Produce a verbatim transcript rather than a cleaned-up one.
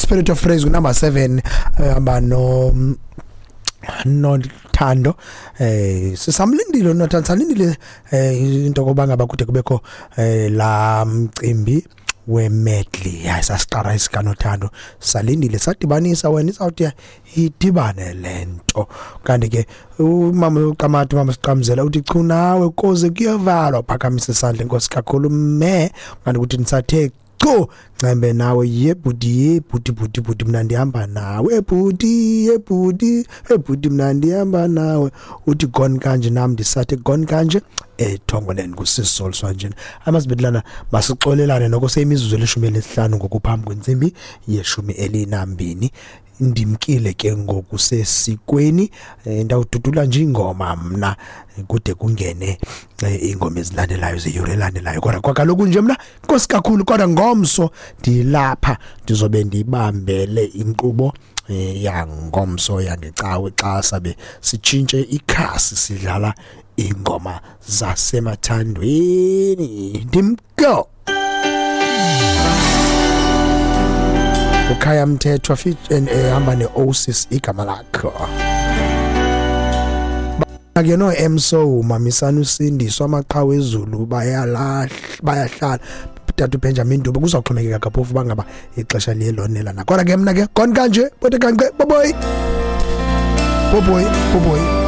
Spirit of Praise number seven hamba no Nothando. eh sisamlindile uNothando, salindile eh into koba ngaba kude kubekho eh la mcimbi we-medley. Hayi, sasiqala isikaNothando, salindile, sadibanisa wena izawuthi idibane lento. Kanti ke umama uQamati, umama Siqamzela uthi chu nawe koze kuyavalwa, phakamisa isandla, inkosi kakhulu me. Kanti ukuthi nisathe chu ncembe nawe ye bhuti, ye bhuti, bhuti, bhuti, mna ndihamba nawe bhuti, ye bhuti, ye bhuti, mna ndihamba nawe. Uthi gone kanje, nam ndisathe gone kanje ethongoleni kusisoliswa njena amazibedlana. Masixolelane noko, seyimizuzu elishumi elisihlanu ngokuphambi kwentsimbi yeshumi elinambini. Ndimkile ke ngoku sesikweni, eh, ndawududula nje ingoma mna kude kungene eh, ingoma ezilandelayo zeyure elandelayo. Kodwa kwakaloku nje mna nkosi kakhulu, kodwa ngomso ndilapha, ndizobe ndibambele inkqubo eh, yangomso yangecawe xa sabe sitshintshe ikhasi, sidlala ingoma zasemathandweni. Ndimko uKhaya Mthethwa fit ehamba ne-Osis, igama lakho ke no Emso mamisana uSindiso, amaqhawe ezulu bayalahla bayahlala, tata uBenjamin Dube. Kuzawuxhomekeka kaphofu bangaba ixesha liye lonela na. Kodwa ke mna ke gone kanje bote kanqe boboy boboy boboy.